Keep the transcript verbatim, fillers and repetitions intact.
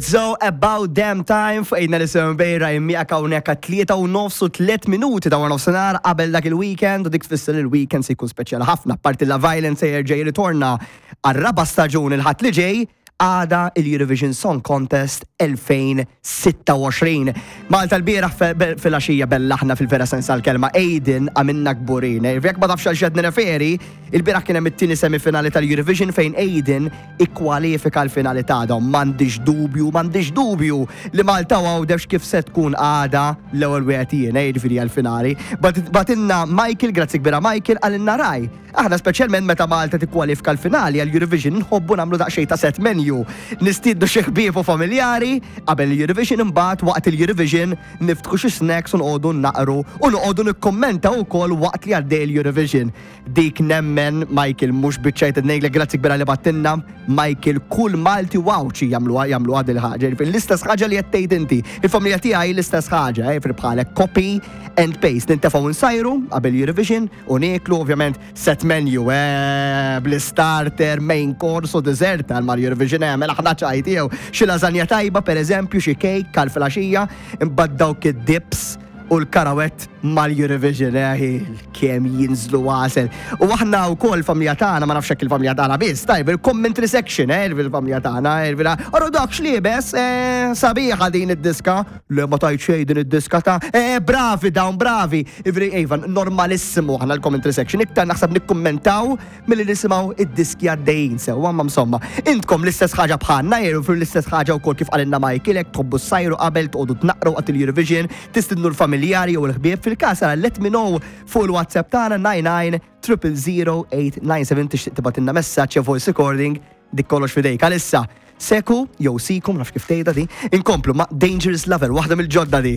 So about damn time fuq ejna li bejra immiegħek hawnhekk tlieta u nofs u tliet minuti ta' nofsinhar qabel dak il-weekend u dik tfisser il-weekend se jkun speċjali ħafna. Parti Love Island se jerġa' jirritorna għar-raba' staġun il-Ħadd li ġej għada il-Eurovision Song Contest elfejn u sitta u għoxrin. Malta l-bieraħ fil-għaxija bellaħna fil-vera sens tal-kelma Aiden għamilna kburin. Jekk ma tafx għal x'qed nirreferi, il-bieraħ kien hemm it-tieni semifinali tal-Eurovision fejn Aiden ikkwalifika l-finali tagħhom. M'għandix dubju, m'għandix dubju li Malta Għawdex kif se tkun għada l-ewwel wieħed jien, jiġifieri għall-finali. Bagħtilna Michael, grazzi kbira Michael, qalilna raj. Aħna speċjalment meta Malta tikkwalifika l-finali għall-Eurovision nħobbu nagħmlu daqsxejn ta' set menu. Nistiednu xi ħbieb u familjari qabel l-Eurovision imbagħad waqt il-Eurovision niftħu xi snacks u noqogħdu naqru u noqogħdu nikkommenta wkoll waqt li għaddej l-Eurovision. Dik nemmen Michael mhux biċċajt ngħidlek grazzi kbira li bgħattilna Michael kull Malti Għawdxi jagħmluha jagħmluha dil ħaġa. L-istess ħaġa li qed tgħid inti. Il-familja tiegħi l-istess ħaġa, eh, bħalek copy and paste. Nintefgħu nsajru qabel Eurovision u nieklu ovvjament set menu, eh, bl-starter, main course u dessert għal mal Eurovision eh, mela ħna ċajt jew xi lasagna tajba per eżempju, xi cake għal filgħaxija, imbagħad dawk id-dips u l-karawett mal-Eurovision, eh, kemm jinżlu għasel. U aħna u kol familja tagħna, ma nafx hekk il-familja tagħna biss, tajb, il-commentary section, eh, il-familja tagħna, il Orru dak x'liebes, eh, sabiħa din id-diska. Le ma tajt xejn din id-diska ta' eh, bravi dawn, bravi. Ivri, Iva, normalissimu aħna l-commentary section. Iktar naħseb nikkummentaw milli nisimgħu id-diski għaddejjin sew, ma insomma. Intkom l-istess ħaġa bħalna, jew l-istess ħaġa wkoll kif qalilna Michael, hekk tħobbu ssajru qabel toqgħodu tnaqru waqt il-Eurovision, tistidnu l-familjari jew l-ħbieb fil-każ let me know fuq il-WhatsApp tagħna nine nine triple zero eight nine seven tixtieq tibgħatilna messaġġ jew voice recording dik kollox fidejk. Għalissa, seku jew sikum naf kif tgħidha di, inkomplu ma' Dangerous Lover, waħda mill-ġodda di.